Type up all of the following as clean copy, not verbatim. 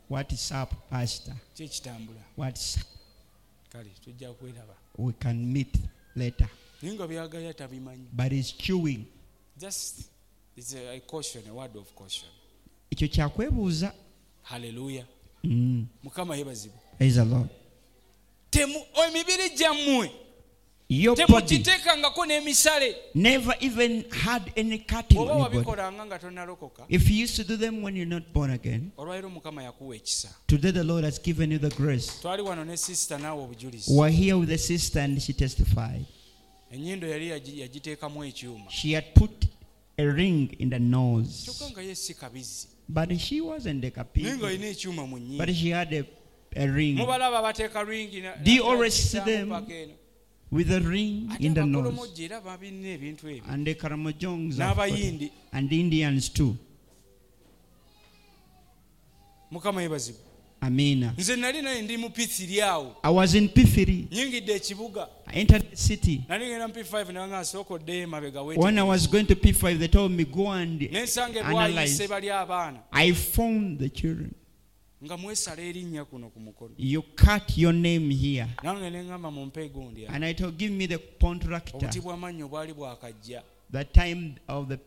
What is up, Pastor? Ki ekitambula? What's up? Kale tujja kweraba. We can meet later. Naye nga byagaya tabimanyi. But he's chewing. Just it's a caution, a word of caution. Ekyo kyakwebuuza. Hallelujah. Mukama yeebazibwe. Praise the Lord. Emibiri gyammwe Your body temugiteekangako n'emisale. never even had any cutting Bw'oba on your body. wabikolanga nga tonnalokoka, If you used to do them when you're not born again, olwaleero Mukama yakuwa ekisa. today the Lord has given you the grace. Twali wano ne sister naawe obujulizi. We're here with the sister and she testified. Ennyindo yali yagiteekamu ekyuma. She had put a ring in the nose. Kyokka nga ye si kabizi. But she wasn't a Naye kapi. ng'alina ekyuma mu nnyindo. But she had a ring. Mubalaba bateeka ringi Do you always see them paka eno. with a ring Ate in the nose? abakolomoja era babirina ebintu ebyo. And the Karamojongs have got it. N'abayindi. And the Indians too. Mukama yeebazibwe. Amina. Nze nali naye ndi mu P3 awo. I was in P3. Nyingidde ekibuga. I entered the city. Nali ngenda mu P5 ne bangamba sooka oddeyo emabega When weetegereze. I was going to P5, they told me go and Ne nsanga analyze. ebwayise bali abaana. I found the children. Nga mwesala erinnya kuno ku mukono. You cut your name here. Nange ne ŋŋamba mumpe egundi awo. And I told, give me the contractor. Obuti bw'amannyo bwali bwakajja. The time of the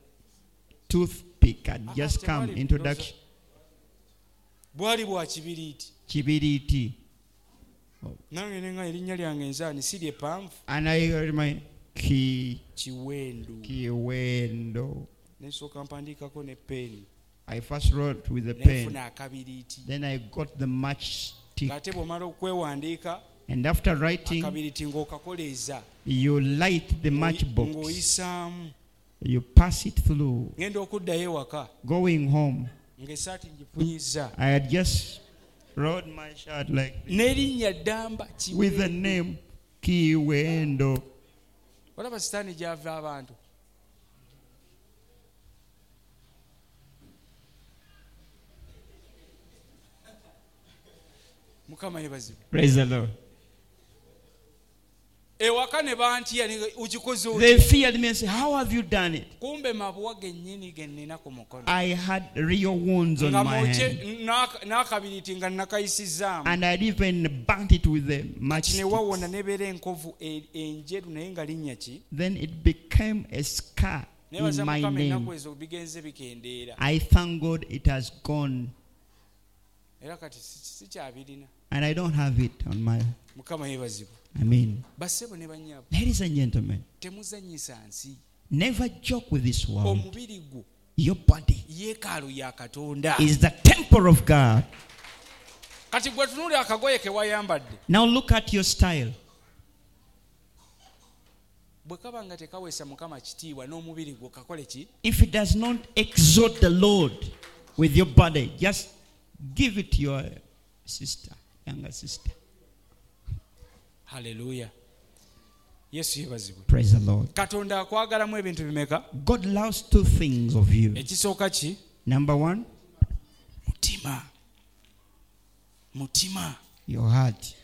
toothpick had just come. Tewali Introduction. Bwali bwa kibiriiti. Chibiriti. Nange ne ŋŋamba erinnya lyange nzaani si lye ppanvu. And I heard my Kiwendu. Kiwendo. Ne nsooka mpandiikako ne peeni. I first wrote with the Ne pen. nfuna akabiriiti. Then I got the matchstick. Ng'ate bw'omala okwewandiika, And after writing, akabiriiti ng'okakoleeza. you light the matchbox. Ng'oyisaamu. You pass it through. Ngenda okuddayo ewaka. Going home, Ng'essaati ngifunyizza. I had just rolled my shirt like this N'erinnya ddamba with the Kiwendo. name Kiwendo. Olaba sitaani gy'ava abantu. Mukama yeebazibwe. Praise the Lord. Ewaka ne bantya ne okikoze otya? They feared me and said, how have you done it? Kumbe mabwa gennyini ge nnina ku mukono. I had real wounds on Nga my mwokye hand. n'akabiriiti nga nnakayisizzaamu. And I'd even burnt it with the Kati ne matchstick. wawona n'ebeera enkovu enjeru naye nga linnya ki? Then it became a scar in Neebaza my Mukama name. ennaku ezo bigenze bikendeera. I thank God it has gone. Era kati sikyabirina. And I don't have it on my... Mukama yeebazibwe. I mean, Bassebo ne bannyabo, ladies and gentlemen, temuzannyisa nsi. never joke with this world. Omubiri gwo Your body yeekaalu ya Katonda. is the temple of God. Kati gwe tunuulira akagoye ke wayambadde. Now look at your style. Bwe kaba nga tekaweesa Mukama kitiibwa n'omubiri gwo kakole ki? If it does not exalt the Lord with your body, just give it to your sister, younger sister. Hallelujah. Yesu yeebazibwe. Praise the Lord. Katonda akwagalamu ebintu bimeka? God loves two things of you. Ekisooka ki? Number one, Mutima. Mutima. your heart.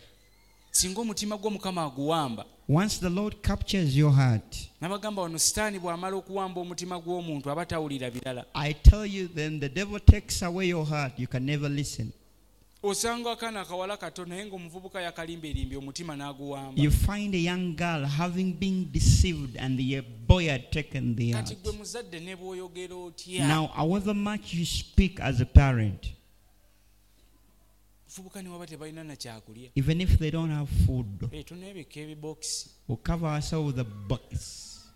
Singa omutima gwo Mukama aguwamba. Once the Lord captures your heart, N'abagamba wano Sitaani bw'amala okuwamba omutima gw'omuntu aba tawulira birala. I tell you, then the devil takes away your heart. You can never listen. Osanga akaana akawala kato naye ng'omuvubuka yakalimberimbye omutima n'aguwamba. You find a young girl having been deceived and the boy had taken the Kati heart. gwe muzadde ne bw'oyogera otya? Now, however much you speak as a parent, Omuvubuka ne waba tebalina na kyakulya. even if they don't have food, Tuneebikka ebibokisi. we'll cover ourselves with a box.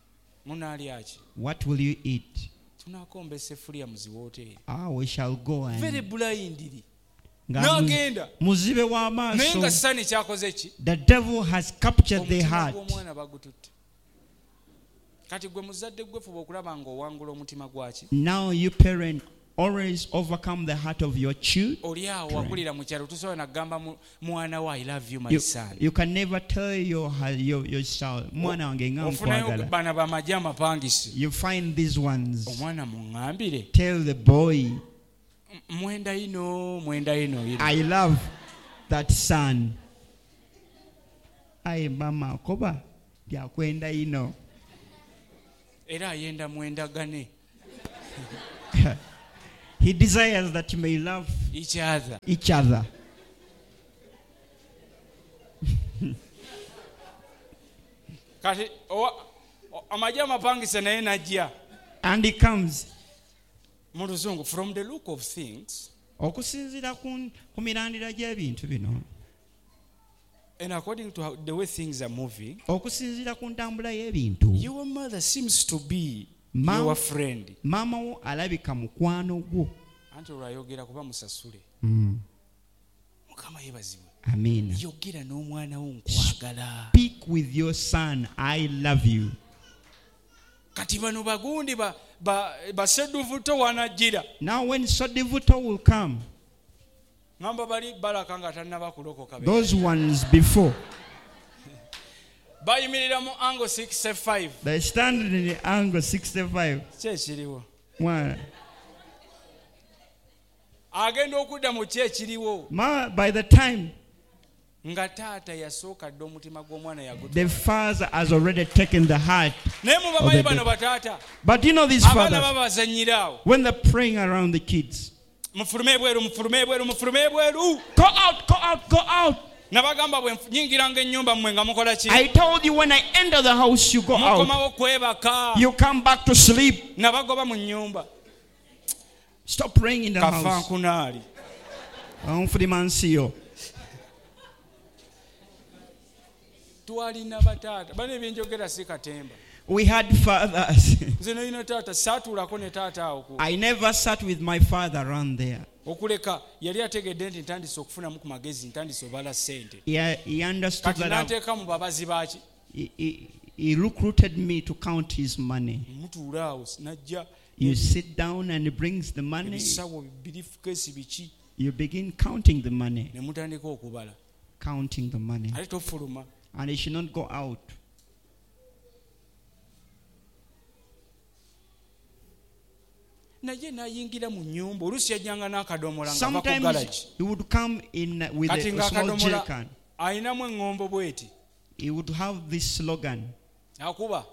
Munaalya ki? What will you eat? Tunaakomba essefuliya mu ziwooteeri. We shall go and... Very blindly. Nga N'agenda. muzibe Naye nga w'amaaso. Sitaani kyakoze ki? The devil has captured the Omutima heart. gw'omwana bagututte. Kati gwe muzadde gwe fuba okulaba ng'owangula omutima gwaki? Now you parent always overcome the heart of your children. Oli awo wakulira mu kyalo tosobola na kugamba mwana wo I love you my son. You can never tell your child, mwana wange nga Ofunayo nkwagala. bana bamagye amapangisi. You find these ones. Omwana muŋŋambire. Tell the boy, Mwenda ino, mwenda ino, ino. I love that son. Aye mama koba lyakwenda ino. Era ayenda mwendagane. He desires that you may love each other. Each other. Kati amagye amapangise naye najja. And he comes. Mu luzungu, from the look of things, Okusinziira ku mirandira gy'ebintu bino, and according to how, the way things are moving, okusinziira ku ntambula y'ebintu, your mother seems to be your friend. Maama wo alabika mukwano gwo. Anti olwayogera kuba musasule. Mukama yeebazibwe. Amiina. Yogera n'omwana wo, nkwagala. Speak with your son, I love you. Kati bano bagundi basedduvuto wanajjira. Now when Sodivuto will come, ŋamba bali balaka nga tannaba kulokoka those ones before, bayimirira mu angle 65. They stand in the angle 65. Ki ekiriwo? One. Agenda okudda mu ki ekiriwo? By the time nga taata yasooka dda omutima gw'omwana yaguta. The father has already taken the heart Naye mubamanyi of the bano bataata, But you know these abaana fathers, babazannyira awo. when they're praying around the kids, mufulume ebweru, mufulume ebweru, mufulume ebweru. Go out, go out, go out. Nabagamba bwe nyingiranga ennyumba mmwe nga mukola ki? I told you when I enter the house, you go out. Mukomawo kwebaka. You come back to sleep. Nabagoba mu nnyumba. Stop praying in the house. Kafankunaali. Onfulimansiyo. Twalina bataata bana ebyenjogera si katemba. We had fathers. Nze nalina taata saatuulako ne taata awo I never sat with my father around there. Okuleka yali ategedde nti ntandise okufunamu ku magezi ntandise obala ssente. He understood Kati that n'anteeka mu babazi baaki. He recruited me to count his money. Mutuula awo najja. You sit down and he brings the money. Ebisawo birifukeesi biki. You begin counting the money. Ne mutandika okubala. Counting the money. Ate tofuluma. And he should not go out. Naye n'ayingira mu nnyumba oluusi yajjanga n'akadomola nga ava ku Sometimes galagi. he would come in with Kati a small ng'akadomola jerrycan. alinamu eŋŋombo bw'eti. He would have this slogan. Akuba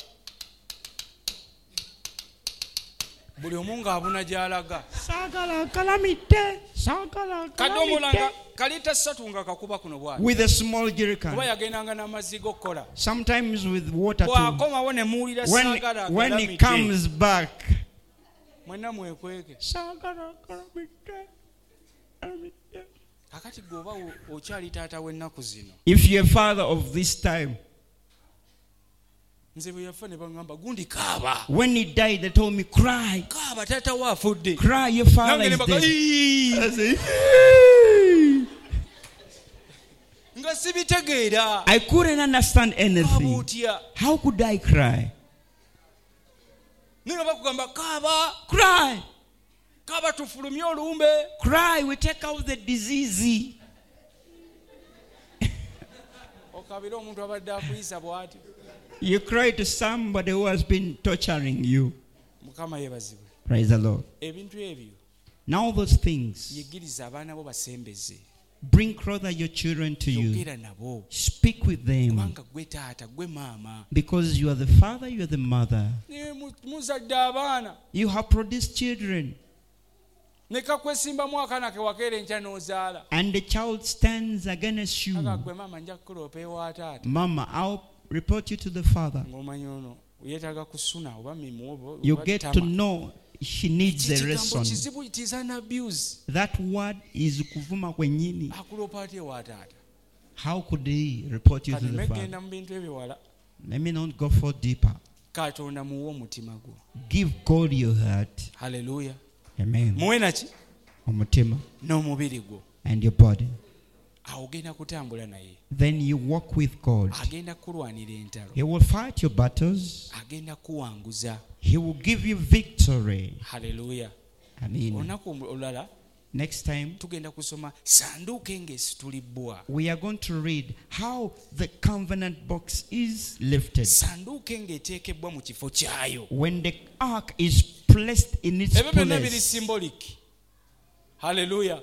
buli omu ng'abuna gy'alaga. Sagala kalamite, sagala Kadomola nga kalamite. kalita ssatu nga kakuba kuno bw'ati. With a small Kuba jerrycan. yagendanga n'amazzi g'okukola. Sometimes with water too. Bw'akomawo ne muwulira saagala When he akalamite. comes back. Mwenna mwekweke. Sagala kalamite, kalamite. Kakati gwe oba okyali taata w'ennaku zino. If you're a father of this time, Nze bwe yafa ne baŋŋamba gundi kaaba. When he died, they told me, cry. Kaaba taata wo afudde. Cry, your father Nange ne is baga, dead. "Ii!" I say, "Yee!" Nga sibitegeera. I couldn't understand Kaaba anything. otya? How could I cry? Naye nga bakugamba kaaba. Cry. Kaaba tufulumye olumbe. Cry, we take out the disease. Okaabira omuntu abadde akuyisa bw'ati. You cry to somebody who has been torturing you. Mukama yeebazibwe. Praise the Lord. Ebintu ebyo Now those things, yigiriza abaana bo basembeze. bring closer your children to you. Yogera nabo. Speak with them. Kubanga gwe taata gwe maama. Because you are the father, you are the mother. Ne muzadde abaana. You have produced children. Ne kakwesimbamu akaana ke wakeera enkya n'ozaala. And the child stands against you. Aga gwe maama nja kukuloopa ewa taata. Mama, I'll report you to the father. Ng'omanyi ono yeetaaga kusuna oba mimwa oba You oba get to ttama. know she needs a Ekigambo lesson. kizibu, it is an abuse. That word is kuvuma kwenyini. Akuloopa atya ewa taata? How could he report you to Kati the father? megenda mu bintu ebiwala. Let me not go for deeper. Katonda muwe omutima gwo. Give God your heart. Haleluya. Amen. Muwe naki? Omutima N'omubiri gwo. and your body. Awo ogenda kutambula naye. Then you walk with God. Agenda kukulwanira entalo. He will fight your battles. Agenda kuwanguza. He will give you victory. Haleluya. Amen. Olunaku olulala Next time, tugenda kusoma sanduuko ng'esitulibbwa. we are going to read how the covenant box is lifted. Sanduuko ng'eteekebbwa mu kifo kyayo. When the ark is placed in its Ebyo byonna biri place, symbolic. Haleluya.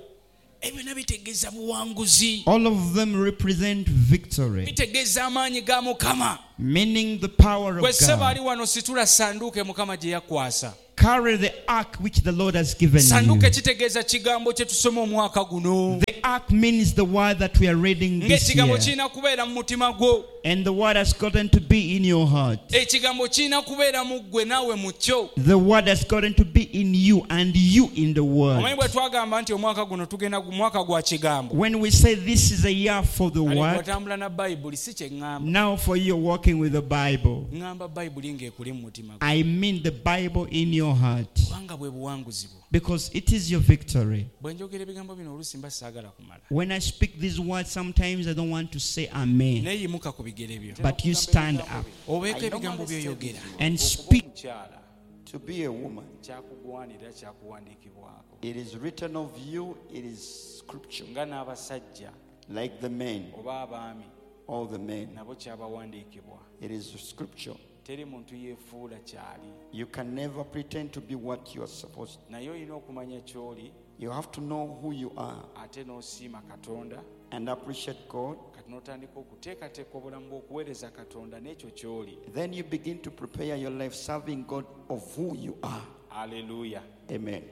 Ebyo byonna bitegeeza buwanguzi. all of them represent victory, Bitegeeza amaanyi ga Mukama. meaning the power Gwe of ssebo God. ali wano situla sanduuko Mukama gye yakwasa. Carry the ark which the Lord has given you. Sanduuke kitegeeza kigambo kye tusoma omwaka guno. The ark means the word that we are reading this Ng'ekigambo year. kirina kubeera mu mutima gwo. And the word has gotten to be in your heart. Ekigambo kirina kubeera mu ggwe naawe mu kyo. The word has gotten to be in you and you in the Omanyi word. bwe twagamba nti omwaka guno tugenda mwaka gwa kigambo. When we say this is a year for the Kale word, bw'otambula na bayibuli si kye ŋŋamba. now for you walking with the Bible, Ŋŋamba bayibuli ng'ekuli mu mutima gwo. I mean the Bible in your heart Kubanga bwe buwanguzi bwo. because it is your victory. Bwe njogera ebigambo bino oluusi mba saagala kumala. When I speak these words, sometimes I don't want to say amen, Naye yimuka ku bigere byo. but you stand up Obeeko ebigambo by'oyogera. and speak. Omukyala To be a woman, kyakugwanira kyakuwandiikibwako. it is written of you, it is scripture. Nga n'abasajja Like the men, oba abaami all the men, nabo kyabawandiikibwa. it is scripture. Teri muntu yeefuula kyali. You can never pretend to be what you are supposed to. Naye olina okumanya ky'oli You have to know who you are ate n'osiima Katonda and appreciate God. kati n'otandika okuteekateeka obulamu bw'okuweereza Katonda n'ekyo ky'oli. Then you begin to prepare your life serving God of who you are. Aleluya. Amen.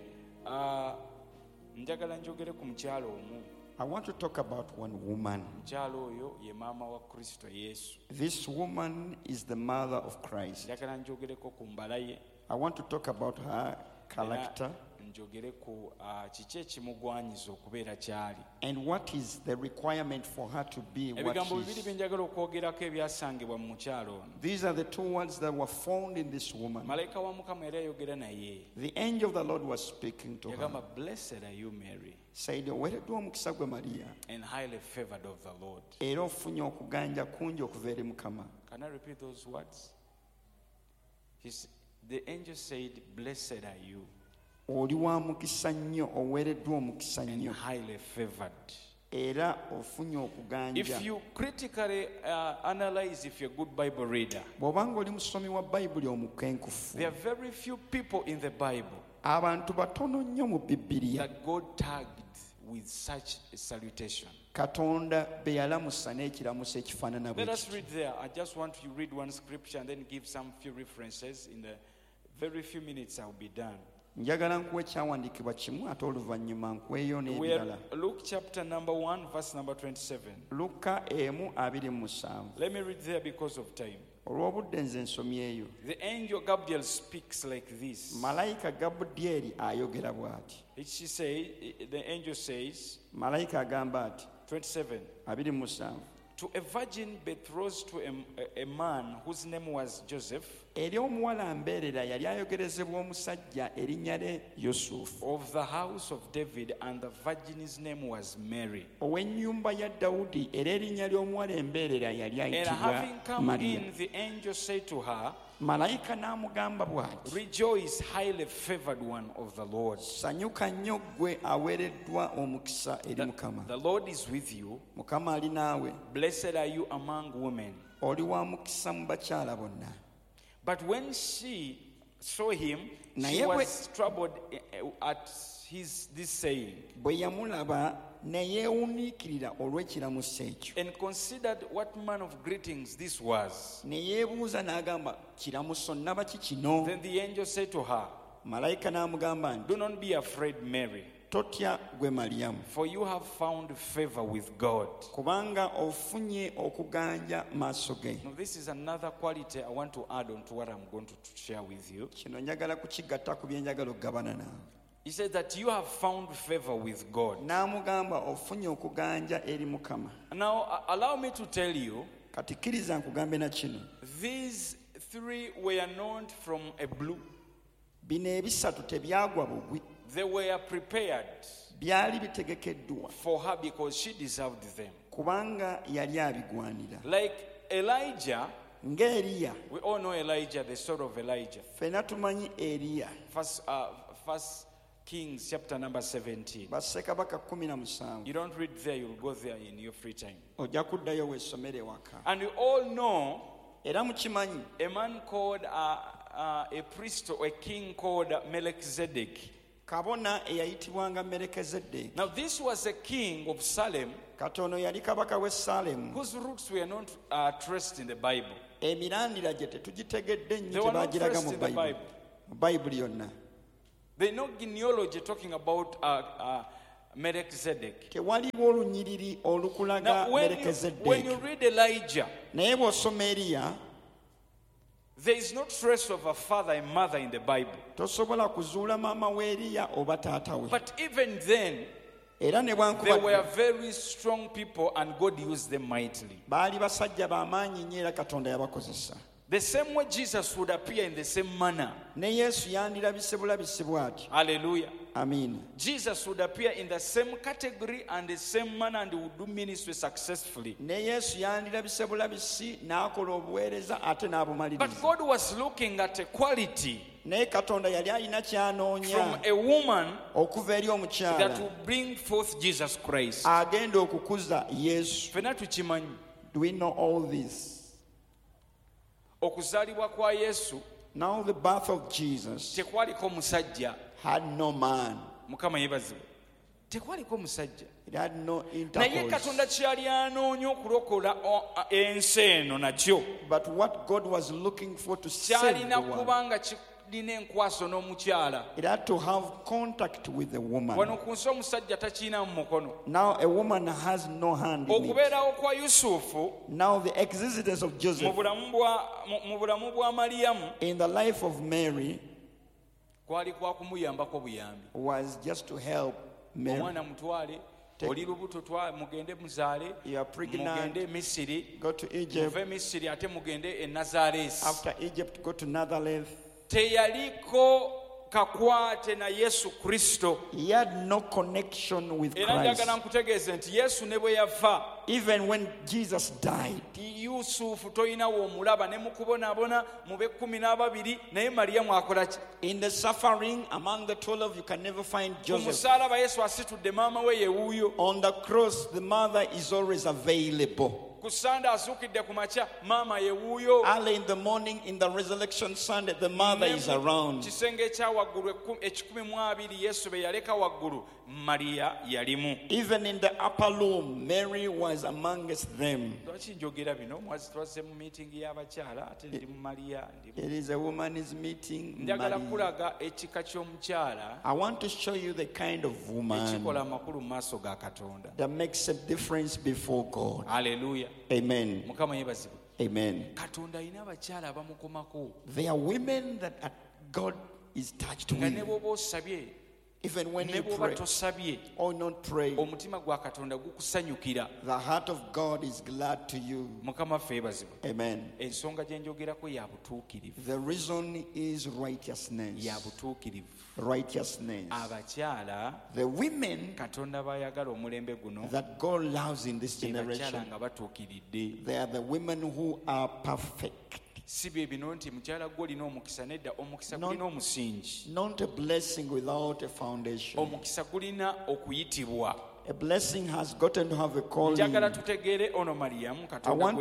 Ah, njagala njogere ku mukyala omu. I want to talk about one woman. Mukyala oyo ye maama wa Kristo Yesu. This woman is the mother of Christ. Njagala njogereko ku mbala ye. I want to talk about her Era character njogere ku ah, kiki ekimugwanyiza okubeera ky'ali. and what is the requirement for her to be what Ebigambo she bibiri is. bye njagala okwogerako ebyasangibwa mu mukyala ono. These are the two words that were found in this woman. Malayika wa Mukama era yayogera naye. The angel of the Lord was speaking to her, Yagamba, "Blessed are you, Mary, said, Oweereddwa omukisa gwe Mariya, and highly favored of the Lord." era ofunye okuganja kungi okuva eri Mukama. Can I repeat those words? The angel said, "Blessed are you Oli wa mukisa nnyo, oweereddwa omukisa and nnyo, highly favored." era ofunye okuganja. If you critically analyze, if you're a good Bible reader, Bw'obanga oli musomi wa Bayibuli omukenkufu, there are very few people in the Bible abantu batono nnyo mu Bibiliya that God tagged with such a salutation. Katonda be yalamusa n'ekiramuso ekifaanana bwe Let us kiti. read there. I just want to read one scripture and then give some few references. In the very few minutes, I'll be done. Njagala nkuwa ekyawandiikibwa kimu ate oluvannyuma nkuweeyo We n'ebirala. are Luke chapter number 1, verse number 27. Luka emu abiri mu musanvu. Let me read there because of time. Olw'obudde nze nsomyeyo. The angel Gabriel speaks like this. Malayika Gabudyeri ayogera bw'ati. She say, the angel says, Malayika agamba ati 27, 27 to a virgin betrothed to a man whose name was Joseph, eri omuwala mbeerera yali ayogerezebwa omusajja erinnya lye Yusufu of the house of David, and the virgin's name was Mary. ow'ennyumba ya Dawudi era erinnya ly'omuwala embeerera yali And ayitibwa having come Mariya. in, the angel said to her, Malayika n'amugamba bw'ati Rejoice, highly favored one of the Lord. sanyuka nnyo ggwe aweereddwa omukisa eri Mukama. The Lord is with you. Mukama ali naawe Blessed are you among women. oli wa mukisa mu bakyala bonna. But when she saw him, she Naye bwe- was troubled at his this saying Bwe yamulaba ne yeewuniikirira olw'ekiramuso ekyo. and considered what manner of greetings this was. Ne yeebuuza n'agamba kiramuso nnaba ki kino? Then the angel said to her, Malayika n'amugamba nti Do not be afraid, Mary, totya gwe Maliyamu for you have found favor with God. kubanga ofunye okuganja maaso ge. Now, this is another quality I want to add on to what I'm going to share with you. Kino njagala kukigatta ku bye njagala okugabana naawe. He said that you have found favor with God. N'amugamba ofunye okuganja eri Mukama. Now, allow me to tell you, Kati kkiriza nkugambe na kino. these three were not from a blue. Bino ebisatu tebyagwa bugwi, They were prepared byali bitegekeddwa for her because she deserved them. kubanga yali abigwanira. Like Elijah, Ng'Eriya, we all know Elijah, the story of Elijah. ffenna tumanyi Eriya, First Kings chapter number 17. bassekabaka 17. You don't read there, you'll go there in your free time. Ojja kuddayo weesomere ewaka. And we all know Era mukimanyi a man called a priest or a king called Melchizedek. kabona eyayitibwanga Merekezeddeeki. Now, this was a king of Salem Katono yali kabaka w'e Saalemu. whose roots were not traced in the Bible. Emirandira gye tetugitegedde They nnyo were not tebaagiraga traced mu in the Bayibuli. Bible. Mu Bayibuli yonna. There's no genealogy talking about Melchizedek. Tewaliwo olunyiriri olukulaga Now, when you Merekezeddeeki. read Elijah, Naye bw'osoma Eriya, there is no trace of a father and mother in the Bible. Tosobola kuzuula maama w'Eriya oba taata we. But even then, Era ne they bwankuba were very strong people and God used them mightily. Baali basajja b'amaanyi nnyo era Katonda yabakozesa. The same way Jesus would appear in the same manner. Ne Yesu yandirabise bulabisi bw'atyo. Hallelujah. Amiina. Jesus would appear in the same category and the same manner and would do ministry successfully. Ne Yesu yandirabise bulabisi n'akola obuweereza ate But n'abumaliriza. God was looking at a quality Naye Katonda yali alina from ky'anoonya a woman okuva eri that omukyala will bring forth Jesus Christ. agenda okukuza Yesu. Ffenna tukimanyi. Do we know all this? Okuzaalibwa kwa Yesu Now the birth of Jesus tekwaliko musajja. had no man. Mukama yeebazibwe. Tekwaliko musajja. It had no Naye intercourse. Katonda kyali anoonya okulokola ensi eno nakyo But what God was looking for to save the kyalina world, kuba nga kirina enkwaso n'omukyala. it had to have contact with the woman. Wano ku nsi omusajja takiina mu mukono. Now a woman has no hand in it. Okubeerawo kwa Yusufu Now the existence of mu Joseph bulamu bwa Mariyamu in the life of Mary kwali kwa kumuyambako buyambi. Was just to help Mary. Omwana mutwale, oli lubuto, mugende muzaale, You are pregnant. mugende e Misiri, Go to Egypt. muve Misiri ate mugende e Nazaresi. After Egypt, go to Nazareth. Teyaliko kakwate na Yesu Kristo. He had no connection with Era Christ. njagala nkutegeeze nti Yesu ne bwe yafa, Even when Jesus died, Yusufu tolina w'omulaba ne mu kubonaabona mu b'ekkumi n'ababiri, naye Mariyamu akola ki? In the suffering among the 12, you can never find Ku Joseph. musaalaba Yesu asitudde maama we yewuuyo. On the cross, the mother is always available. Ku Sande azuukidde ku makya, maama yewuuyo. Early in the morning, in the resurrection Sunday, the mother Ne is mu around. kisenge ekya waggulu 120 Yesu be yaleka waggulu, Mariya yalimu. Even in the upper room, Mary was amongst them. Lwaki njogera bino? Mwazi twazze mu miitingi y'abakyala ate ndi mu Mariya ndi It is a woman's meeting. Njagala Mary. kulaga ekika ky'omukyala I want to show you the kind of woman ekikola amakulu mu maaso ga Katonda. That makes a difference before God. Aleluya. Amen. Mukama yeebazibwe. Amen. Katonda alina abakyala abamukomako There are women that God is touched nga ne with. bw'oba osabye Even when ne you bw'oba pray tosabye, or not pray, omutima gwa Katonda gukusanyukira. The heart of God is glad to you. Mukama ffe yeebazibwe. Amen. Ensonga gye njogerako ya butuukirivu. The reason is righteousness. Ya butuukirivu. Righteousness. Abakyala The women Katonda b'ayagala omulembe guno that God loves in this be bakyala generation, nga batuukiridde. They are the women who are perfect. Si bye bino nti mukyala gwe olina omukisa, nedda, omukisa No. gulina omusingi. Not a blessing without a foundation. Omukisa gulina okuyitibwa. A blessing has gotten to have a calling. Njagala tutegeere ono Mariyamu Katonda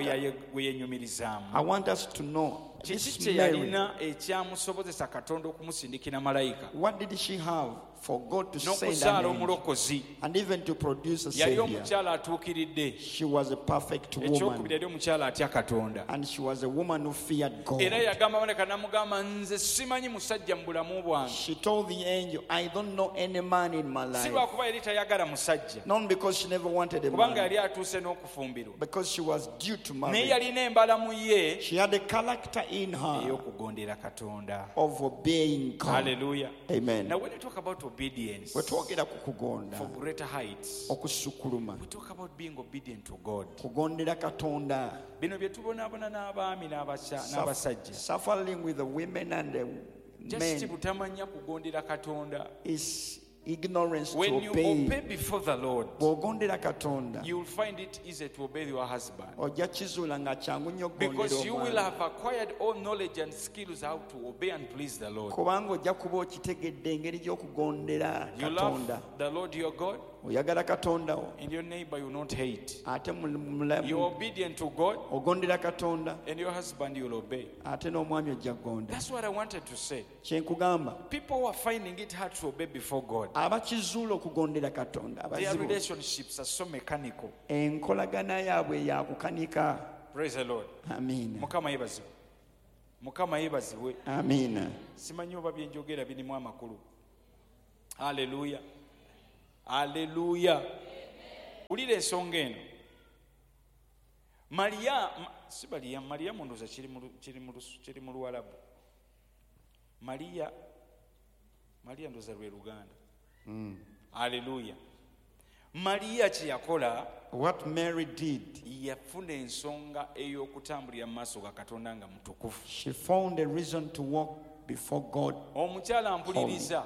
gwe yenyumirizaamu. I want us to know Kiki this kye Mary. yalina ekyamusobozesa Katonda okumusindikira malayika What did she have for God to send an n'okuzaala angel omulokozi? And even to produce a Yali savior? omukyala atuukiridde. She was a perfect Ekyokubiri, woman, yali omukyala atya Katonda. and she was a woman who feared God. Era yagamba malayika n'amugamba, nze simanyi musajja mu bulamu bwange. She told the angel, "I don't know any man in my Si life." lwakuba yali tayagala musajja, Not because she never wanted a kubanga man, yali atuuse n'okufumbirwa, because she was due to naye marry. yalina embala mu ye She had a character in her ey'okugondera Katonda. Of obeying God. Haleluya. Amen. Now when you talk about obedience Bwe twogera ku kugonda for greater heights, okusukkuluma, we talk about being obedient to God. Kugondera Katonda. Bino bye tubonaabona n'abaami n'abasajja, Suffering with the women and the just men butamanya kugondera Katonda. Is ignorance to When you obey. Obey before the Lord, Bw'ogondera Katonda, you will find it easy to obey your husband, ojja kizuula nga kyangu nnyo okugondera because you will omwami. Have acquired all knowledge and skills how to obey and please the Lord. Kubanga ojja kuba okitegedde engeri gy'okugondera You love Katonda. the Lord your God, Oyagala Katonda wo, and your neighbor you will not hate. Ate You're obedient to God, ogondera Katonda, and your husband you will obey. Ate n'omwami ojja kugonda. That's what I wanted to say. Kye nkugamba, People who are finding it hard to obey before God, abakizuula okugondera Katonda their abazibu, relationships are so mechanical. Enkolagana yaabwe yakukanika. Praise the Lord. Amiina. Mukama yeebazibwe. Mukama yeebazibwe. Amina. Simanyi oba byenjogera birimu amakulu. Aleluya, aleluya. Wulira ensonga eno. Mariya, si Mariya, Mariyamu ndowooza kiri mu Luwalabu. Mariya, Mariya ndowooza lwe Luganda. Aleluya. Mariya kye yakola, What Mary did, yafuna ensonga ey'okutambulira mu maaso ga Katonda nga mutukuvu. She found a reason to walk before God. Omukyala mpuliriza.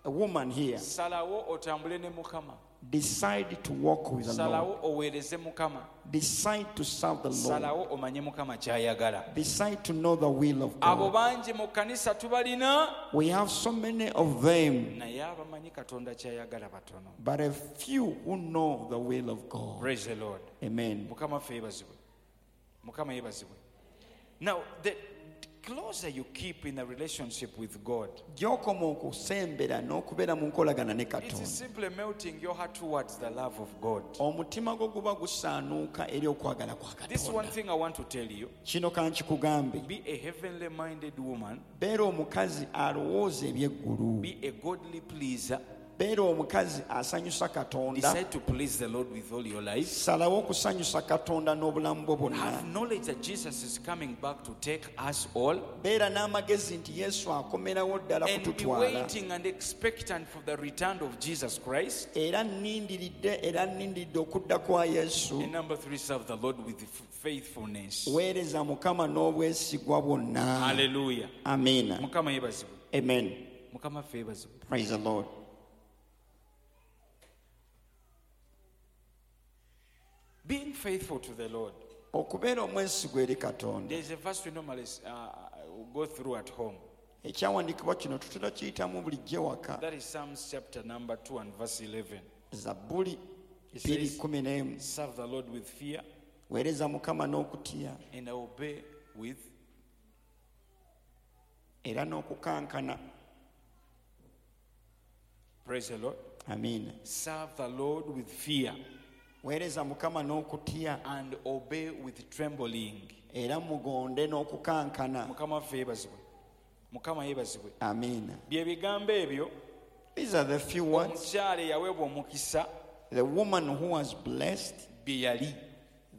A woman here, Salawo otambule ne Mukama. Decide to walk with the Lord. Salawo oweereze Mukama. Decide to serve the Lord. Salawo omanye Mukama ky'ayagala. Decide to know the will of Abo God. Bangi mu kkanisa tubalina, We have so many of them, naye abamanyi Katonda ky'ayagala batono. But a few who know the will of God. Praise the Lord. Amen. Mukama ffe yeebazibwe. Mukama yeebazibwe. Now, the closer you keep in a relationship with God, Gy'okoma okusembera n'okubeera mu nkolagana ne it Katonda, is simply melting your heart towards the love of God. Omutima gwo guba gusaanuuka eri okwagala kwa This one Katonda. thing I want to tell you: Kino kankikugambe, be a heavenly minded woman, beera omukazi alowooza ebyeggulu, be a godly pleaser, beera omukazi asanyusa Katonda, decide to please the Lord with all your life. Salawo okusanyusa Katonda n'obulamu bwo bwonna. Have knowledge that Jesus is coming back to take us all. Beera n'amagezi nti Yesu akomerawo ddala And be kututwala. waiting and expectant for the return of Jesus Christ. Era nnindiridde okudda kwa Yesu. And number three, serve the Lord with faithfulness. Weereza Mukama n'obwesigwa bwonna. Hallelujah. Amiina. Mukama yeebazibwe. Amen. Mukama ffe yeebazibwe. Praise the Lord. Being faithful to the Lord. Okubeera omwesigwa eri Katonda. There's a verse we normally go through at home. Ekyawandiikibwa kino tutera kiyitamu bulijjo ewaka. That is Psalms chapter number 2 and verse 11. Zabbuli It says, 2:11. "Serve the Lord with fear Weereza Mukama n'okutya and obey with era n'okukankana. Praise the Lord. Amiina. Serve the Lord with fear Weereza Mukama n'okutya and obey with trembling. Era mugonde n'okukankana. Mukama waffe yeebazibwe. Mukama yeebazibwe. Amiina. Bye bigambo ebyo These are the few words omukyala eyaweebwa omukisa the woman who was blessed bye yali.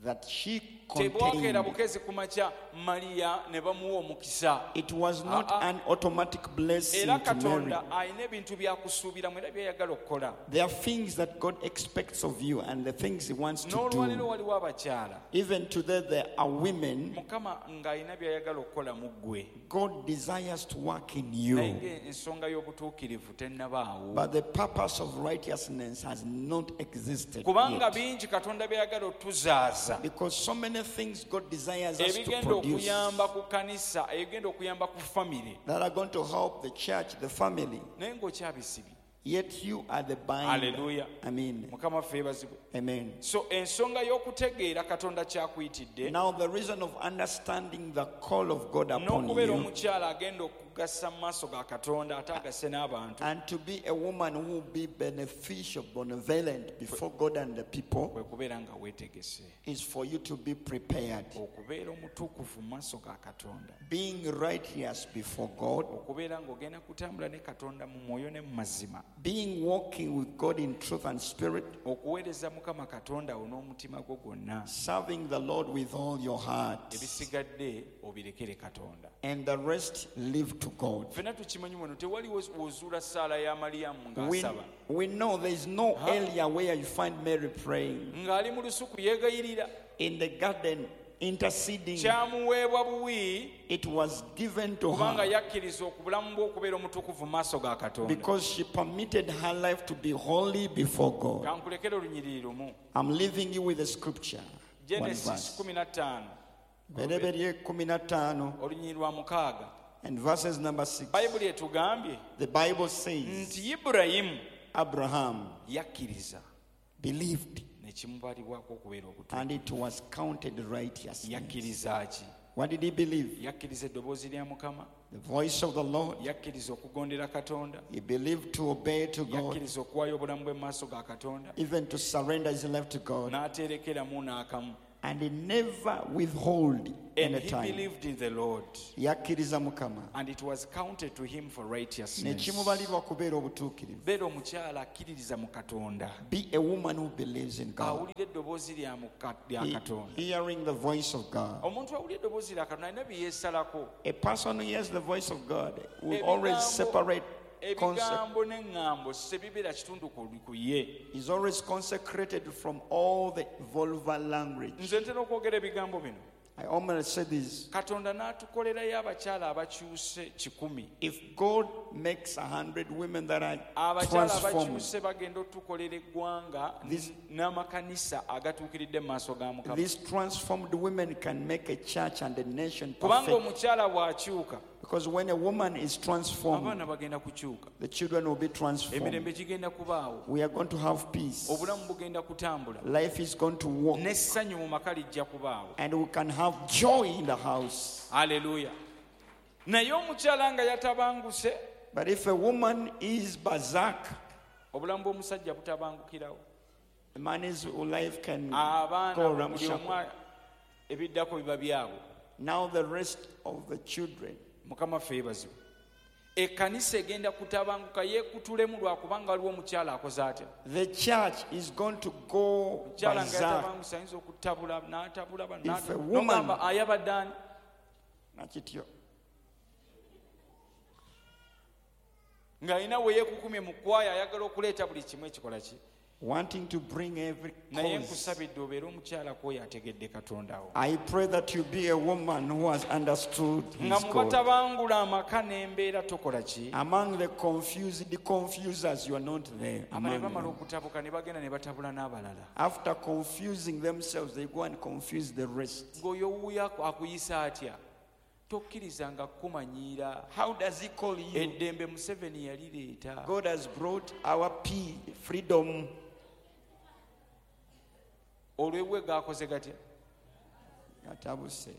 That she Tebwakeera contained. bukeezi ku makya Mariya ne bamuwa omukisa. It was not Ah, ah. an automatic blessing Era to Mary. Katonda alina ebintu byakusuubiramu era byayagala okukola. There are things that God expects of you and the things He wants to N'olwaleero do. waliwo abakyala Even today, there are women Mukama ng'alina byayagala okukola mu ggwe, God desires to work in naye you. ng'ensonga y'obutuukirivu tennabaawo, But the purpose of righteousness has not existed kubanga yet. Bingi Katonda byayagala otuzaaza Because so many things God desires us to ebigenda produce okuyamba ku kanisa, ebigenda okuyamba ku famire, that are going to help the church, the family. Naye ng'okyabisibye. Yet you are the binder. Hallelujah. Amen. Mukama waffe yeebazibwe. Amen. So ensonga y'okutegeera Katonda kyakuyitidde Now, the reason of understanding the call of God upon n'okubeera you omukyala agenda okugasa mu maaso ga Katonda ate agase n'abantu and to be a woman who will be beneficial, benevolent before God and the people kwe kubeera nga weetegese is for you to be prepared. Okubeera omutukuvu mu maaso ga Katonda, Being righteous before God, okubeera ng'ogenda kutambula ne Katonda mu mwoyo ne mu mazima, being walking with God in truth and spirit, okuweereza Mukama Katonda wo n'omutima gwo gwonna, serving the Lord with all your heart, ebisigadde obirekere Katonda. And the rest leave to God. Ffenna tukimanyi wano tewaliwo wozuula ssaala ya Maliyamu We, ng'asaba we know there's no area where you find Mary praying ng'ali mu lusuku yeegayirira. In the garden, interceding. Kyamuweebwa buwi It was given to kubanga her yakkiriza obulamu bwe okubeera omutukuvu mu maaso ga Katonda. because she permitted her life to be holy before God. Kankulekere olunyiriri lumu. I'm leaving you with a scripture. One Genesis verse. 15 Bereberye 15 olunyiriri lwa mukaaga. And verses number 6. Bayibuli etugambye The Bible says nti Ibulayimu Abraham yakkiriza believed ne kimubalibwako okubeera obutuufu. And it was counted righteousness. Yakkiriza ki? What did he believe? Yakkiriza eddoboozi lya Mukama. The voice of the Lord. Yakkiriza okugondera Katonda. He believed to obey to God, Yakkiriza okuwaayo obulamu bwe mu maaso ga Katonda even to surrender his life to God, n'aterekeramu n'akamu. And he never withhold And any he time. Believed in the Lord, Yakkiriza Mukama and it was counted to him for ne righteousness. kimubalirwa kubeera obutuukirivu. Beera omukyala akkiririza mu Katonda, Be a woman who believes in God, awulira eddoboozi lya lya Katonda. Hearing the voice of God. Omuntu awulira eddoboozi lya Katonda alina bye yeesalako. A person who hears the voice of God will always separate Ebigambo n'eŋŋambo sebibeera kitundu ku ye. Is always consecrated from all the vulgar language. Nze ntera okwogera ebigambo bino. I almost say this. Katonda n'atukolerayo abakyala abakyuse 100. If God makes 100 women that are Abakyala transformed, abakyuse bagenda otukolera eggwanga n'amakanisa agatuukiridde mu maaso ga Mukama. these transformed women can make a church and a nation Kubanga perfect. omukyala bw'akyuka, Because when a woman is transformed, abaana bagenda kukyuka, the children will be transformed. Emirembe gigenda kubaawo, We are going to have peace. Obulamu bugenda kutambula, Life is going to walk. N'essanyu mu maka lijja kubaawo. And we can have joy in the house. Aleluya. Naye omukyala nga yatabanguse, But if a woman is berserk, obulamu bw'omusajja butabangukirawo. the man's life can Abaana go buli ramshackle. omu ebiddako biba byabwe. Now the rest of the children. Mukama ffe yeebazibwe. Ekkanisa egenda kutabanguka yeekutulemu lwakubanga waliwo omukyala akoze atya. The church is going to go Omukyala nga berserk. yatabanguse ayinza okutabula n'atabula bano, If a woman- n'ogamba ayabadde ani? Nakityo. Ng'alina we yeekukumye mu kwaya ayagala okuleeta buli kimu ekikola ki. Wanting to bring every Naye cause. nkusabidde obeere omukyala kwoyo ategedde Katonda wo. I pray that you be a woman who has understood Nga his mu call. batabangula amaka n'embeera tokola ki. Among the confused confusers, you are not there. Abale Among bamala them. okutabuka ne bagenda ne batabula n'abalala. After confusing themselves, they go and confuse the rest. Ng'oyo owuuyo akuyisa atya? Tokkirizanga kukumanyiira. How does he call you? Eddembe Museveni yalireeta. God has brought our peace, freedom. Olw'ebwe gaakoze gatya? Gatabuse.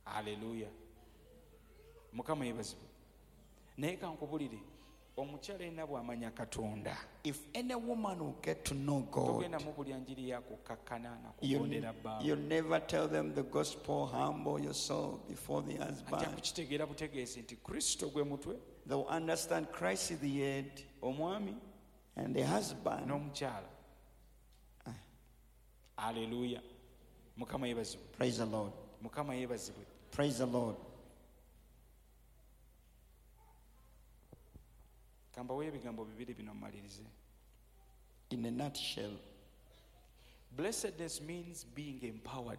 Aleluya. Mukama yeebazibwe. Naye kankubulire, omukyala yenna bw'amanya Katonda, If any woman will get to know God, togenda mubulya njiri ya kukkakkana na you, kugondera bbaawe. you never tell them the gospel, humble yourself before the Ajja husband. kukitegeera butegeezi nti Kristo gwe mutwe, They will understand Christ is the head omwami and the husband. n'omukyala. Aleluya. Mukama yeebazibwe. Praise the Lord. Mukama yeebazibwe. Praise the Lord. Kambaweyo ebigambo bibiri bino mmalirize. In a nutshell, Blessedness means being empowered.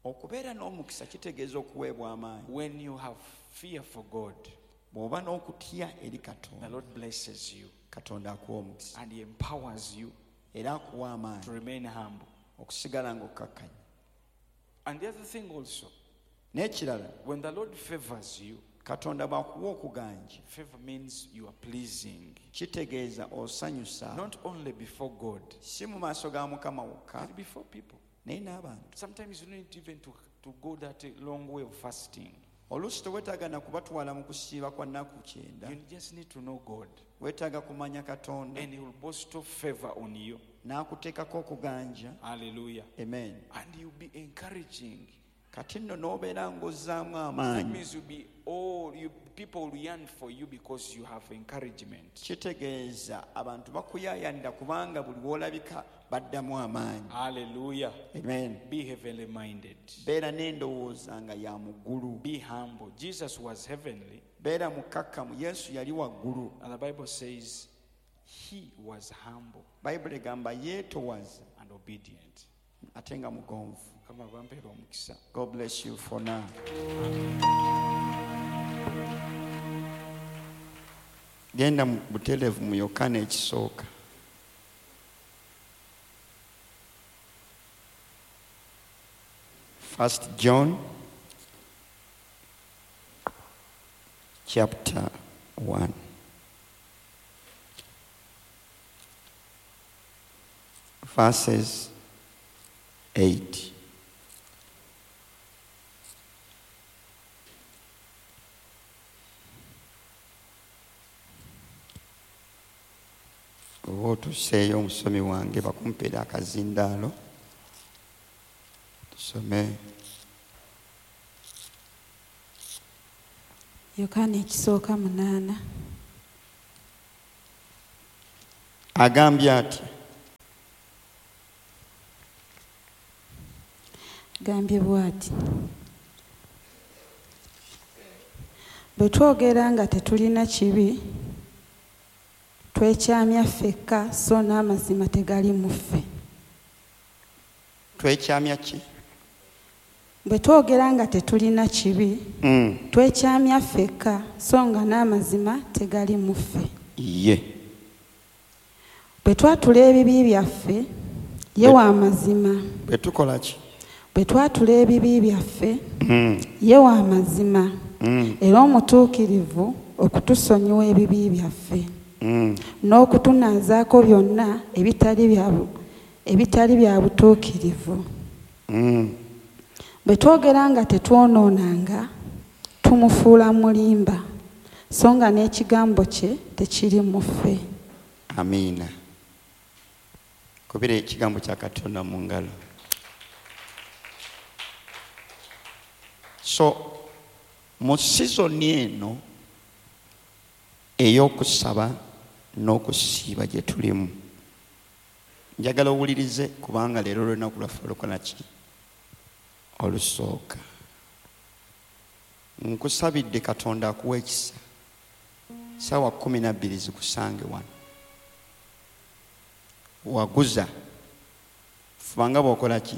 Okubeera n'omukisa kitegeeza okuweebwa amaanyi. When you have fear for God, Bw'oba n'okutya eri the Katonda, Lord blesses you Katonda akuwa omukisa and He empowers you era akuwa to amaanyi remain humble. okusigala ng'okkakkanye. And the other thing also, N'ekirala, when the Lord favors you, Katonda bw'akuwa okuganja, favor means you are pleasing, kitegeeza osanyusa, not only before God, si mu maaso ga Mukama wokka, but before people. naye n'abantu. Sometimes you don't need even to go that long way of fasting. Oluusi teweetaaga na kubatwala mu kusiiba kwa nnaku 90. You just need to know God, Weetaaga kumanya Katonda, and He will bestow favor on you. N'akuteekako okuganja. Hallelujah. Amen. And you'll be encouraging. Kati nno n'obeera ng'ozzaamu That amaanyi. means you'll be all you people will yearn for you because you have encouragement. Kitegeeza abantu bakuyaayanira kubanga buli w'olabika baddamu amaanyi. Hallelujah. Amen. Be heavenly minded. Beera n'endowooza nga ya mu ggulu. Be humble. Jesus was heavenly, Beera mukkakkamu. Yesu yali waggulu. and the Bible says he was humble Bayibuli egamba yeetowaza and obedient. Ate nga mugonvu. Mukama bampeera omukisa. God bless you for now. Genda mu butereevu mu Yokaana ekisooka. First John chapter 1, verses 8. Oba otuuse. Otuuseeyo omusomi wange bakumpeera akazindaalo tusome. Yokaana ekisooka 8. Agambye ati, gambye bw'ati, bwe twogera nga tetulina kibi twekyamya ffekka, so n'amazima tegali mu ffe. Twekyamya ki? Bwe twogera nga tetulina kibi twekyamya ffekka, so nga n'amazima tegali mu ffe. Ye. Bwe twatula ebibi byaffe, ye wa mazima. Bwe tukola ki? Bwe twatula ebibi byaffe, ye wa mazima era omutuukirivu okutusonyiwa ebibi byaffe n'okutunaazaako byonna ebitali bya butuukirivu. Bwe twogera nga tetwonoonanga, tumufuula mulimba, so nga n'ekigambo kye tekiri mu ffe. Amiina. Kubira ekigambo kya Katonda mu ngalo. So mu sizoni eno ey'okusaba n'okusiiba gye tulimu, njagala owulirize kubanga leero lunaku lwaffe olukola ki? Olusooka. Nkusabidde Katonda akuwa ekisa, 12:00 zikusange wano. Waguza fubanga bw'okola ki?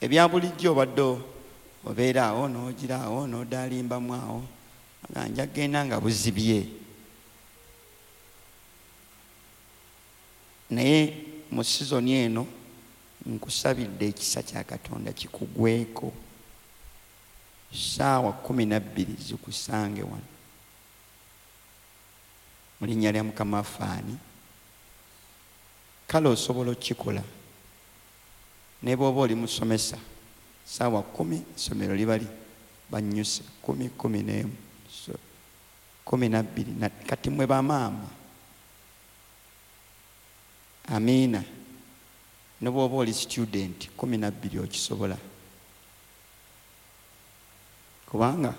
Ebya bulijjo obadde obeera awo n'ogira awo n'odaalimbamu awo nga nja kugenda nga buzibye, naye mu sizoni eno nkusabidde ekisa kya Katonda kikugweko, 12:00 zikusange wano mu linnya lya Mukama waffe. Ani kale osobola okukikola ne bw'oba oli musomesa, 10:00 essomero libali bannyuse 10, 11, 12. Kati mwe bamaama, amiina, ne bw'oba oli student 12 okisobola, kubanga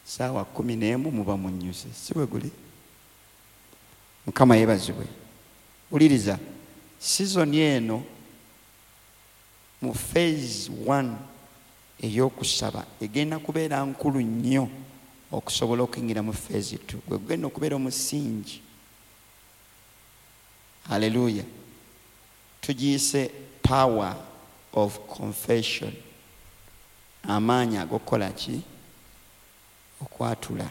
11:00 muba munnyuse, si bwe guli? Mukama yeebazibwe. Wuliriza, sizoni eno mu phase 1 ey'okusaba egenda kubeera nkulu nnyo okusobola okuyingira mu phase 2, gwe gugenda okubeera omusingi. Haleluya. Tugiyise power of confession, amaanyi ag'okukola ki? Okwatula.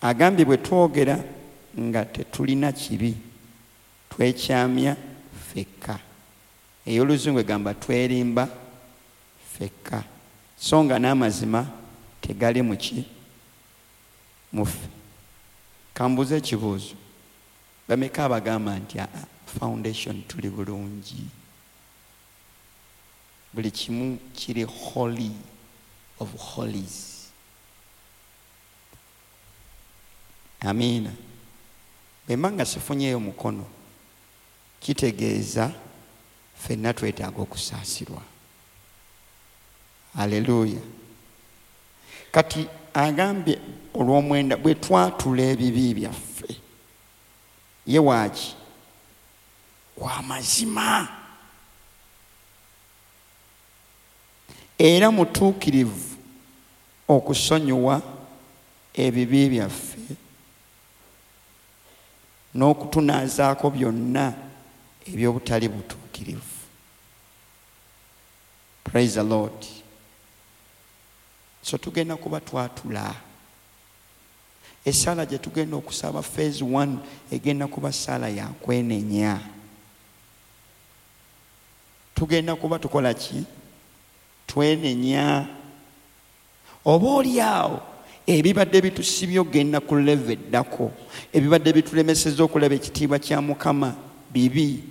Agambye bwe twogera nga tetulina kibi twekyamya ffekka. Ey'oluzungu egamba twerimba ffekka, so nga n'amazima tegali mu ki? Mu ffe. Kambuuze ekibuuzo, bameka abagamba nti foundation tuli bulungi, buli kimu kiri holy of holies? Amiina. Bwe mba nga sifunyeeyo mukono, kitegeeza ffenna twetaaga okusaasirwa. Haleluya. Kati agambye olw'omwenda bwe twatula ebibi byaffe, ye waaki? Wa mazima era mutuukirivu okusonyiwa ebibi byaffe n'okutunaazaako byonna eby'obutali butuukirivu. Praise the Lord. So tugenda kuba twatula. Essaala gye tugenda okusaba phase 1 egenda kuba ssaala ya kwenenya. Tugenda kuba tukola ki? Twenenya. Oba oli awo ebibadde bitusibye okugenda ku level eddako, ebibadde bitulemesezza okulaba ekitiibwa kya Mukama bibi.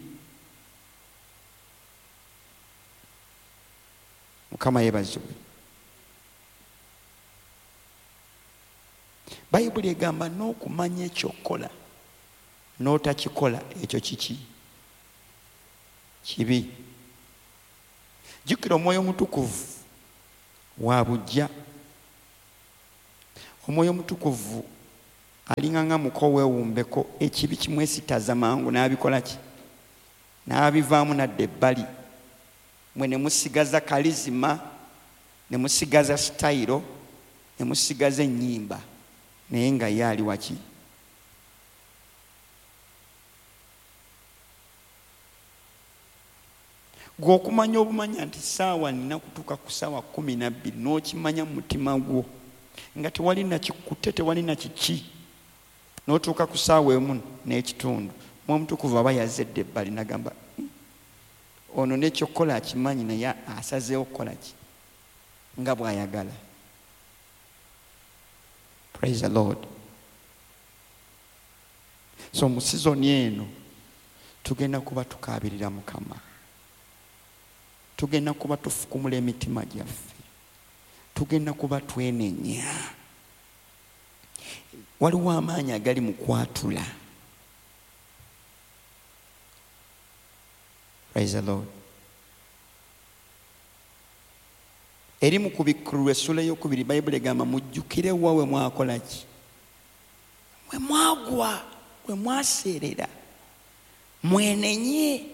Mukama yeebazibwe. Bayibuli egamba n'okumanya ekyokukola n'otakikola ekyo kiki? Kibi. Jjukira omwoyo omutukuvu wa bujja. Omwoyo omutukuvu alinga nga muko weewumbeko, ekibi kimwesitaza mangu n'abikola ki? N'abivaamu n'adda ebbali. Mwe ne musigaza kalizima, ne musigaza sitayiro, ne musigaza ennyimba, naye nga ye ali waki? Gwe okumanya obumanya nti ssaawa nina kutuuka ku ssaawa 12 n'okimanya mu mutima gwo nga tewali nakikutte, tewali na kiki, n'otuuka ku ssaawa 1:30, Omwoyo Omutukuvu aba yazedde ebbali n'agamba ono n'ekyokukola akimanyi naye asazeewo kukola ki nga bw'ayagala. Praise the Lord. So mu sizoni eno tugenda kuba tukaabirira Mukama, tugenda kuba tufukumula emitima gyaffe, tugenda kuba twenenya. Waliwo amaanyi agali mu kwatula. Praise the Lord. Eri mu kubikkulirwa essula ey'okubiri Bayibuli egamba mujjukire wa we mwakola ki? We mwagwa, we mwaseerera, mwenenye.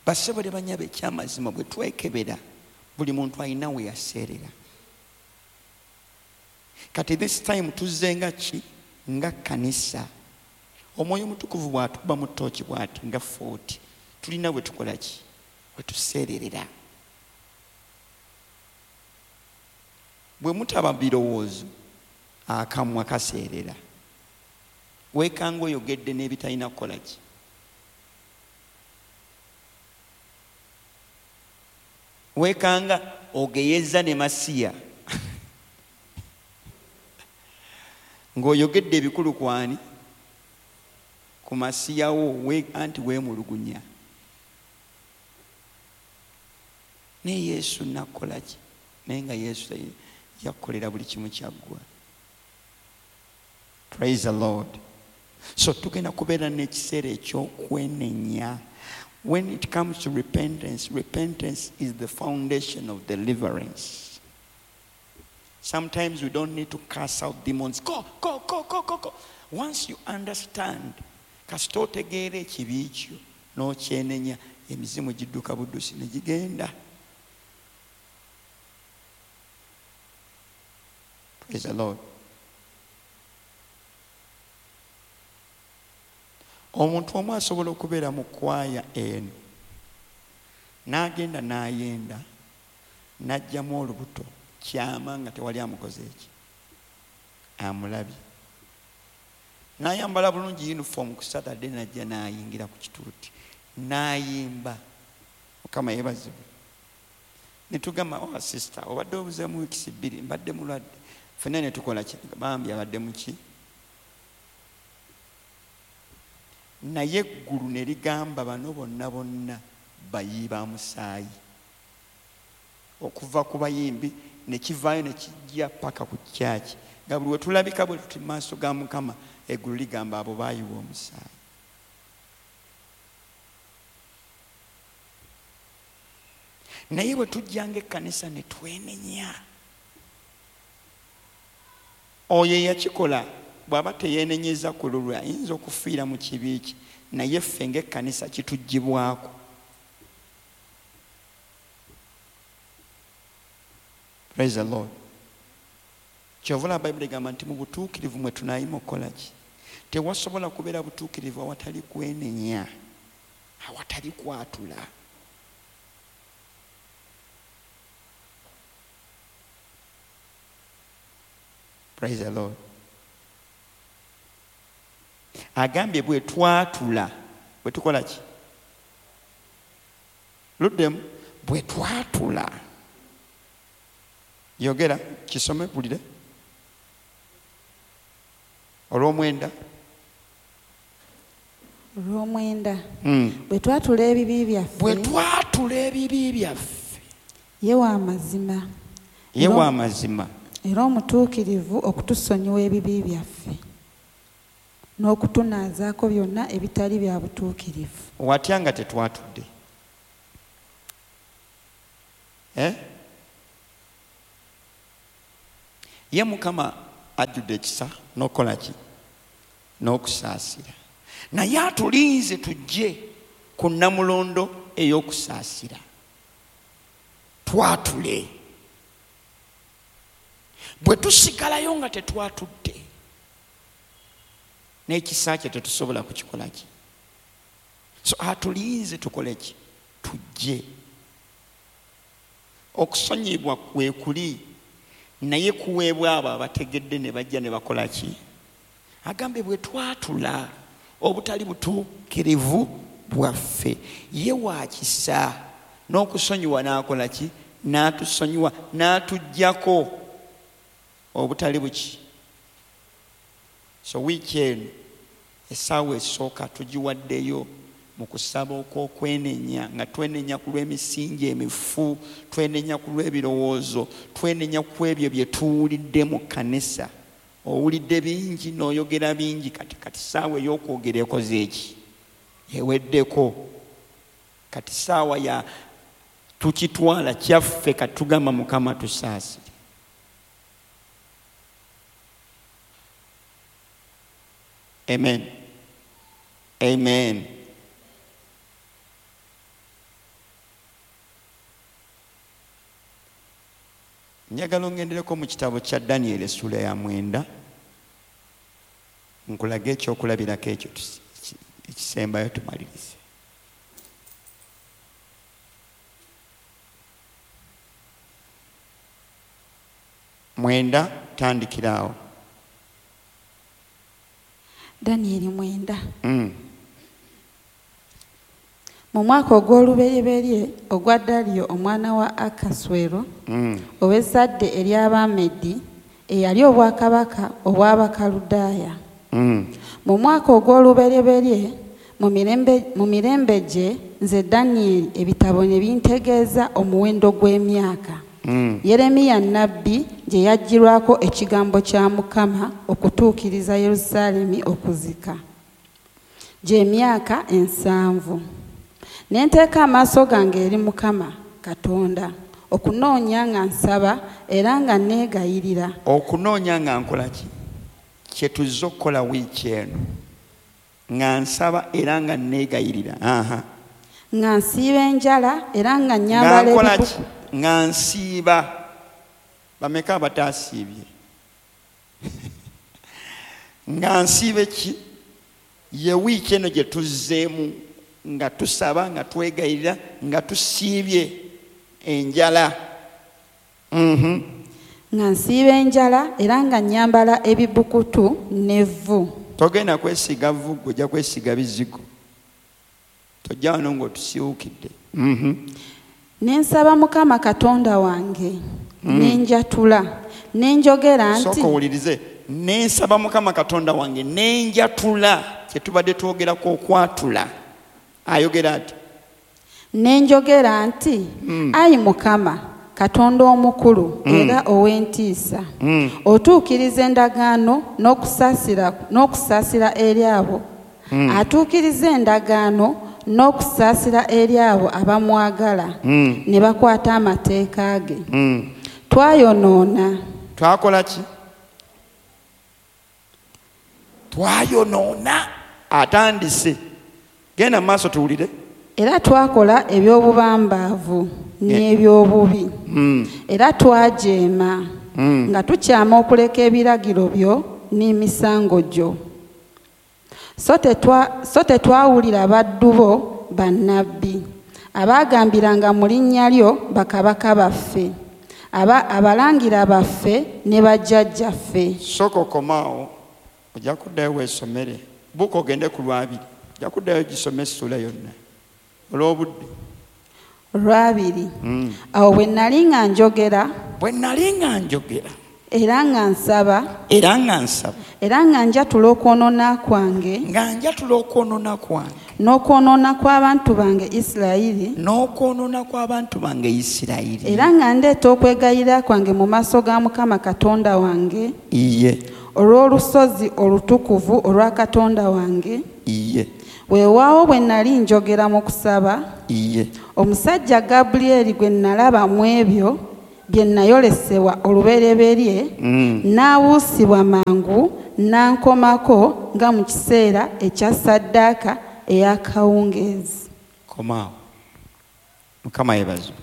Bassebo ne bannyabo, ekyamazima bwe twekebera buli muntu alina we yaseerera. Kati this time tuzze nga ki? Nga kkanisa. Omwoyo Omutukuvu bw'atukuba mu ttooki bw'ati nga 40, tulina we tukola ki? We tuseererera. Bwe mutaba birowoozo, akamwa kaseerera. Weekanga oyogedde n'ebitalina kukola ki? Weekanga ogeyeza ne Masiya ng'oyogedde ebikulu kwani? Ku Masiya wo, anti weemulugunya. Naye Yesu nakola ki? Naye nga Yesu yakukolera buli kimu kyaggwa. Praise the Lord. So tugenda kubeera n'ekiseera eky'okwenenya. When it comes to repentance, repentance is the foundation of deliverance. Sometimes we don't need to cast out demons. Go, go, go, go, go, go. Once you understand, kasita otegeera ekibi kyo n'okyenenya, emizimu gidduka buddusi ne gigenda. Praise the Lord. Omuntu omu asobola okubeera mu kwaya eno n'agenda n'ayenda n'aggyamu olubuto kyama nga tewali amukoze eki amulabye, n'ayambala bulungi uniform ku Saturday n'ajja n'ayingira ku kituuti n'ayimba. Mukama yeebazibwe. Ne tugamba, oh sister, obadde obuzeemu wiikisi 2, mbadde mulwadde. Ffenna ne tukola ki? Bambi abadde muki? Naye eggulu ne ligamba bano bonna bonna bayi ba musaayi. Okuva ku bayimbi ne kivaayo ne kijja paka ku kyaki. Nga buli we tulabika bwe tuti mu maaso ga Mukama, eggulu ligamba abo baayiwa omusaayi. Naye bwe tujjanga ekkanisa ne twenenya, oyo eyakikola bw'aba teyeenenyeza ku lulwe ayinza okufiira mu kibi kye, naye ffe ng'ekkanisa kituggyibwako. Praise the Lord. Kyova olaba Bayibuli egamba nti mu butuukirivu mwe tunaayima okukola ki? Tewasobola kubeera butuukirivu awatali kwenenya, awatali kwatula. Praise the Lord. Agambye bwe twatula, bwe tukola ki? Luddemu, bwe twatula. Yogera, kisome bulire. Olw'omwenda. Olw'omwenda. Bwe twatula ebibi byaffe. Bwe twatula ebibi byaffe. Ye wa mazima. Ye wa mazima. Era omutuukirivu okutusonyiwa ebibi byaffe n'okutunaazaako byonna ebitali bya butuukirivu. Watya nga tetwatudde? Ye Mukama ajjudde ekisa n'okukola ki? N'okusaasira. Naye atulinze tujje ku nnamulondo ey'okusaasira. Twatule. Bwe tusigalayo nga tetwatudde, n'ekisa kye tetusobola kukikola ki? So atulinze tukole ki? Tujje. Okusonyiyibwa kwe kuli, naye kuweebwa abo abategedde ne bajja ne bakola ki? Agambe bwe twatula obutali butuukirivu bwaffe, ye wa kisa n'okusonyiwa n'akola ki? N'atusonyiwa, n'atuggyako obutali buki. So wiiki eno essaawa esooka tugiwaddeyo mu kusaba okw'okwenenya, nga twenenya ku lw'emisingi emifu, twenenya ku lw'ebirowoozo, twenenya ku ebyo bye tuwulidde mu kkanisa. Owulidde bingi n'oyogera bingi, kati ssaawa ey'okwogera ekoze eki? Eweddeko. Kati ssaawa ya tukitwala kyaffe, kati tugamba Mukama tusaasire. Amen. Amen. Njagala ongendereko mu kitabo kya Daniel essula ya 9, nkulage ekyokulabirako ekyo ekisembayo tumalirize. 9, tandikira awo. Daniel 9. Mu mwaka ogw'olubereberye ogwa Daliyo omwana wa Akaswero, ow'ezzadde ery'Abamedi, eyali obwakabaka obw'Abakaludaaya. Mu mwaka ogw'olubereberye mu mirembe gye, nze Daniel ebitabo ne bintegeeza omuwendo gw'emyaka. Yeremiya nnabbi gye yaggyirwako ekigambo kya Mukama okutuukiriza Yerusaalemi okuzika, gy'emyaka 70. Ne nteeka amaaso gange eri Mukama Katonda okunoonya nga nsaba era nga neegayirira. Okunoonya nga nkola ki? Kye tuzze okukola wiiki eno. Nga nsaba era nga neegayirira. Nga nsiiba enjala era nga nnyambala ebibukutu. Nga nsiiba. Bameka abataasiibye? Nga nsiiba ki? Ye wiiki eno gye tuzzeemu nga tusaba, nga twegayirira, nga tusiibye enjala. Nga nsiiba enjala era nga nnyambala ebibukutu n'evvu. Togenda kwesiiga vvu, ggwe ojja kwesiiga bizigo. Tojja wano ng'otusiiwukidde. Ne nsaba Mukama Katonda wange, ne njatula, ne njogera nti Sooka owulirize. Ne nsaba Mukama Katonda wange, ne njatula, kye tubadde twogerako okwatula. Ayogera ati. Ne njogera nti, Ayi Mukama Katonda omukulu era ow'entiisa, otuukiriza endagaano n'okusaasira eri abo. Atuukiriza endagaano n'okusaasira eri abo abamwagala ne bakwata amateeka ge. Twayonoona. Twakola ki? Twayonoona. Atandise. Genda mu maaso tuwulire. Era twakola eby'obubambaavu n'eby'obubi. Era twajeema nga tukyama okuleka ebiragiro byo n'emisango gyo. So tetwawulira baddu bo bannabbi abaagambiranga mu linnya lyo bakabaka baffe, abalangira baffe ne bajjajjaffe. Sooka okomaawo, ojja kuddayo weesomere. Buuka ogende ku Lwabiri, ojja kuddayo gisome essuula yonna olw'obudde. Lwabiri. Awo bwe nali nga njogera. Bwe nali nga njogera. Era nga nsaba. Era nga nsaba. Era nga njatula okwonoona kwange. Nga njatula okwonoona kwange. N'okwonoona kw'abantu bange Isirayiri. N'okwonoona kw'abantu bange Isirayiri. Era nga ndeeta okwegayirira kwange mu maaso ga Mukama Katonda wange. Iye. Olw'olusozi olutukuvu olwa Katonda wange. Iye. Weewaawo bwe nali njogera mu kusaba. Iye. Omusajja Gabulyeri gwe nalaba mu ebyo bye nayolesebwa olubereberye, n'abuusibwa mangu n'ankomako nga mu kiseera ekya ssaddaaka ey'akawungeezi. Komaawo. Mukama yeebazibwe.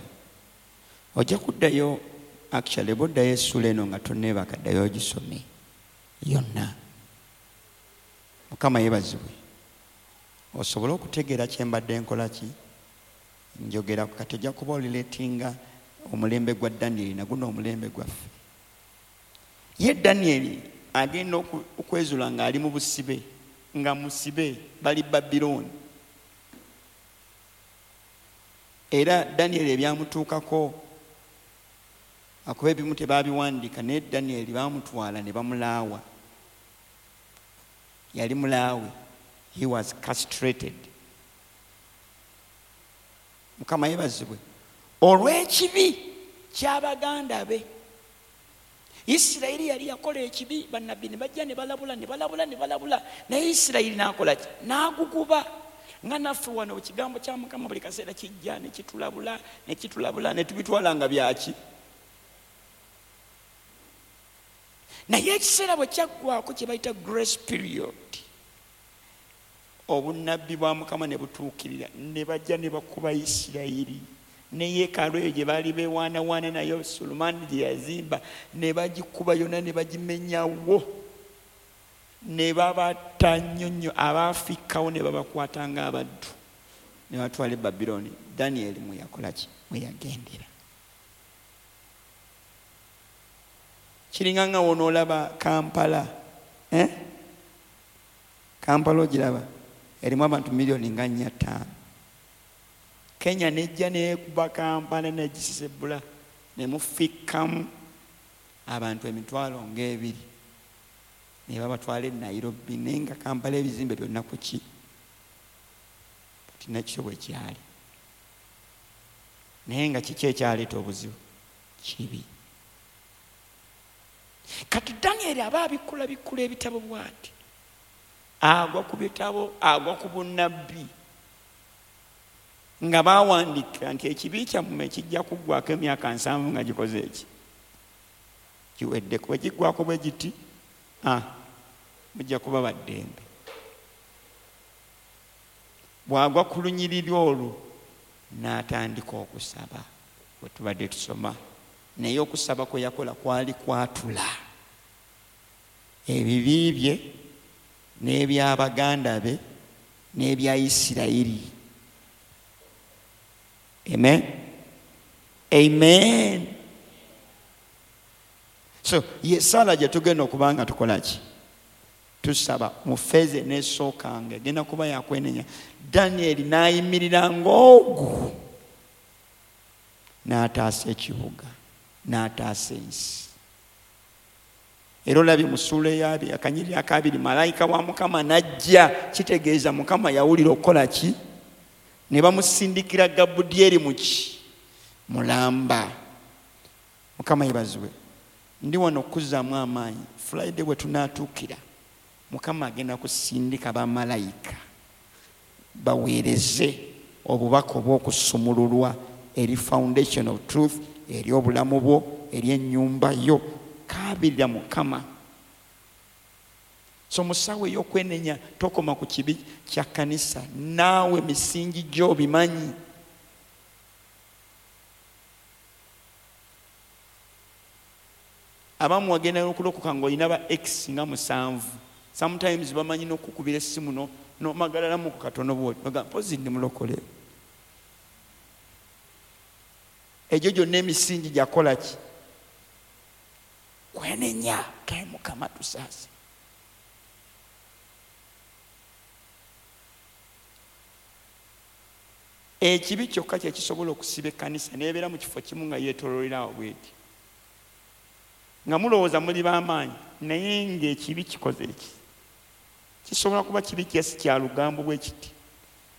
Ojja kuddayo, actually bw'oddayo essuula eno nga tonneebaka, ddayo ogisome yonna. Mukama yeebazibwe. Osobole okutegeera kye mbadde nkola ki njogera kati ojja kuba olileetinga omulembe gwa Danieli na guno omulembe gwaffe. Ye Danieli agenda okwezula ng'ali mu busibe, nga musibe, bali Babilooni. Era Danieli ebyamutuukako akuba ebimu tebaabiwandiika, naye Danieli baamutwala ne bamulaawa. Yali mulaawe. He was castrated. Mukama yeebazibwe. Olw'ekibi ky'abaganda be. Isirayiri yali yakola ekibi, bannabbi ne bajja ne balabula ne balabula ne balabula, naye Isirayiri n'akola ki? N'aguguba. Nga naffe wano ekigambo kya Mukama buli kaseera kijja ne kitulabula ne kitulabula ne tubitwala nga byaki. Naye ekiseera bwe kyaggwako kye bayita grace period, obunnabbi bwa Mukama ne butuukirira, ne bajja ne bakuba Isirayiri. Ne yeekaalu eyo gye baali beewaanawaana nayo Sulemaani gye yazimba ne bagikuba yonna ne bagimenyawo, ne babatta nnyo nnyo, abaafikkawo ne babakwata ng'abaddu ne batwala e Babilooni. Danieli mwe yakola ki? Mwe yagendera. Kiringa nga w'onoolaba Kampala, Kampala ogiraba erimu abantu miliyoni nga 4.5. Kenya nejja neekuba Kampala negisisebula ne mufikkamu abantu 20,000 ne babatwala e Nairobi, naye nga Kampala ebizimbe byonna ku ki? Kati nakyo bwe kyali. Naye nga kiki ekyaleeta obuzibu? Kibi. Kati Danieli aba abikkula bikkula ebitabo bw'ati, agwa ku bitabo, agwa ku bunnabbi nga bawandiika nti ekibi kyammwe kijja kuggwako emyaka 70 nga gikoze eki kiwedde. Bwe kiggwako bwe giti, mujja kuba baddembe. Bw'agwa ku lunyiriri olwo n'atandika okusaba bwe tubadde tusoma, naye okusaba kwe yakola kwali kwatula ebibi bye n'eby'abaganda be n'ebya Isirayiri. Amen. Amen. So ye sala gye tugenda okuba nga tukola ki? Tusaba mu feeze n'esookanga egenda kuba yakwenenya. Danieli n'ayimirira ng'ogu n'ataasa ekibuga, n'ataasa ensi. Era olabye mu ssuula ey'abiri, akanyiriri akabiri, malayika wa Mukama n'ajja, kitegeeza Mukama yawulira okukola ki? Ne bamusindikira Gabudyeri mu ki? Mulamba. Mukama yeebazibwe. Ndi wano okuzzaamu amaanyi. Friday bwe tunaatuukira, Mukama agenda kusindika bamalayika baweereze obubaka obw'okusumululwa eri foundation of truth, eri obulamu bwo, eri ennyumba yo. Kaabirira Mukama. So mu ssaawa ey'okwenenya tokoma ku kibi kya kkanisa, naawe misingi gyo bimanyi. Abamu wagenda okulokoka ng'olina ba ex nga 7. Sometimes bamanyi n'okukubira essimu n'omagalalamu ku katono bw'oti, ogamba mpozi ndi mulokole. Egyo gyonna emisingi gyakola ki? Kwenenya. Kaye Mukama tusaase. Ekibi kyokka kye kisobola okusiba ekkanisa n'ebeera mu kifo kimu nga yeetooloolera awo bw'eti. Nga mulowooza muli b'amaanyi, naye ng'ekibi kikoze eki. Kisobola kuba kibi kyesi kya lugambo bwe kiti.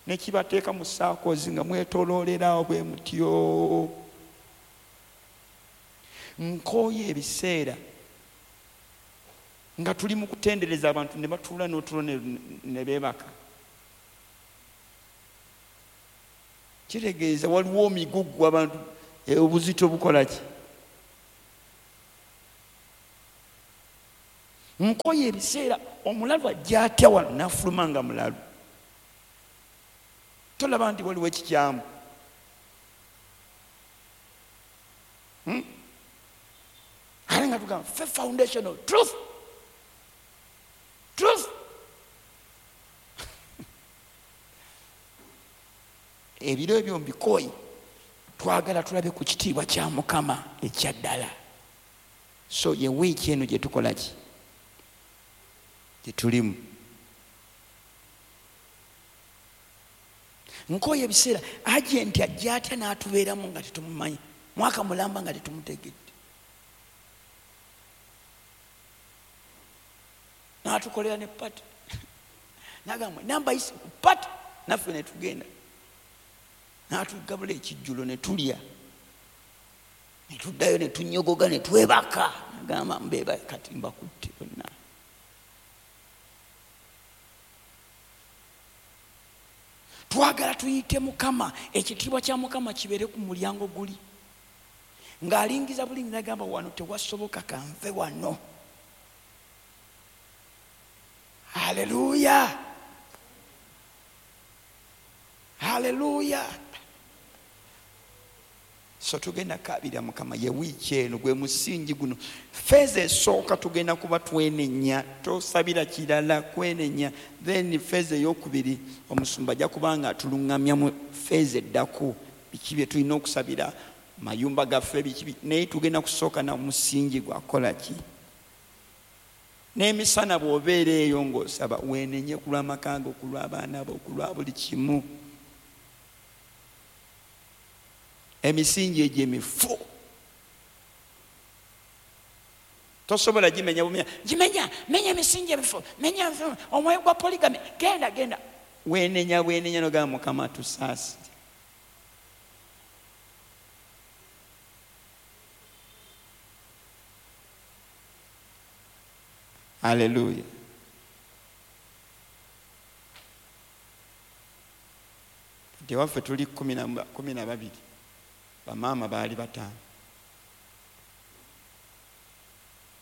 Ne kibateeka mu saakozi nga mwetooloolerawo bwe mutyo. Nkooye ebiseera nga tuli mu kutendereza abantu ne batuula n'otulo ne beebaka. Kitegeeza waliwo omigugu abantu obuzito bukola ki? Nkoye ebiseera omulalu ajja atya wano n'afuluma nga mulalu. Tolaba nti waliwo ekikyamu. Ate nga tugamba ffe foundation of truth. Truth. Ebiro ebyo mbikooye, twagala tulabe ku kitiibwa kya Mukama ekya ddala. So ye wiiki eno gye tukola ki? Gye tulimu. Nkooye ebiseera agenti ajja atya n'atubeeramu nga tetumumanyi, mwaka mulamba nga tetumutegedde, n'atukolera ne pati, n'agamba namba yise ku pati, naffe ne tugenda, n'atugabula ekijjulo ne tulya, ne tuddayo ne tunyogoga ne twebaka, n'agamba mbeeba kati mbakutte bonna. Twagala tuyite Mukama, ekitiibwa kya Mukama kibeere ku mulyango guli. Ng'alingiza bulingi n'agamba wano tewasoboka, kanve wano. Haleluya, haleluya. So tugenda kabira Mukama ye wiiki eno, gwe musingi guno. Feeza esooka tugenda kuba twenenya, tosabira kirala, kwenenya. Then feeza eyokubiri omusumba ajja kuba nga atuluŋŋamya mu feeza eddako, biki bye tulina okusabira mayumba gaffe, biki. Naye tugenda kusooka na musingi gwakola ki? N'emisana bw'obeera eyo ng'osaba, weenenye ku lw'amaka go, ku lw'abaana bo, ku lwa buli kimu. Emisingi egyo emifu tosobola gimenya bumenya, gimenya, menya emisingi emifu, menya omwoyo gwa polygamy, genda genda. Weenenya bwenenya n'ogamba Mukama tusaasire. Haleluya. Kati ewaffe tuli 12, bamaama baali 5.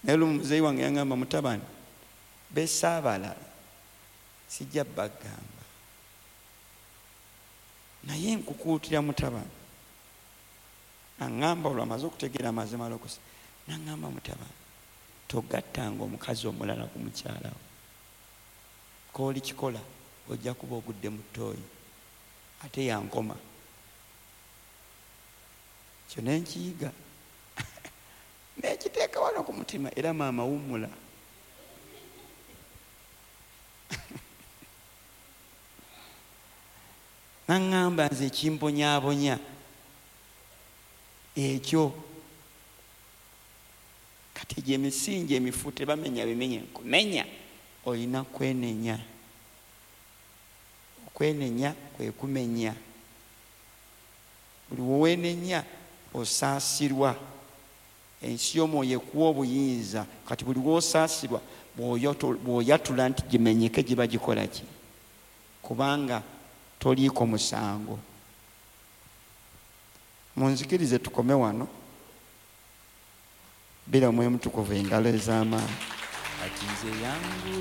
Naye lumu muzeeyi wange yangamba, mutabani, besaabala sijja bagamba, naye nkukuutira mutabani. Aŋŋamba olwo amaze okutegeera amazima alokosa, n'aŋŋamba mutabani, togattanga omukazi omulala ku mukyala wo. K'oli kikola ojja kuba ogudde mu ttooyi, ate yankoma. Kyo ne nkiyiga nekiteeka wano ku mutima, era maama wummula. Naŋŋamba nze ekimponyaabonya ekyo. Kati egyo emisingi emifu tebamenya bimenye, nkumenya olina kwenenya. Okwenenya kwe kumenya. Buli w'owenenya osaasirwa. Ensi y'omwoyo ekuwa obuyinza. Kati buli w'osaasirwa bw'oyatula nti gimenyeke, giba gikola ki? Kubanga toliiko musango. Munzikirize tukome wano. Bira Omwoyo Mutukuvu engalo ez'amaanyi. Kati nze yangu.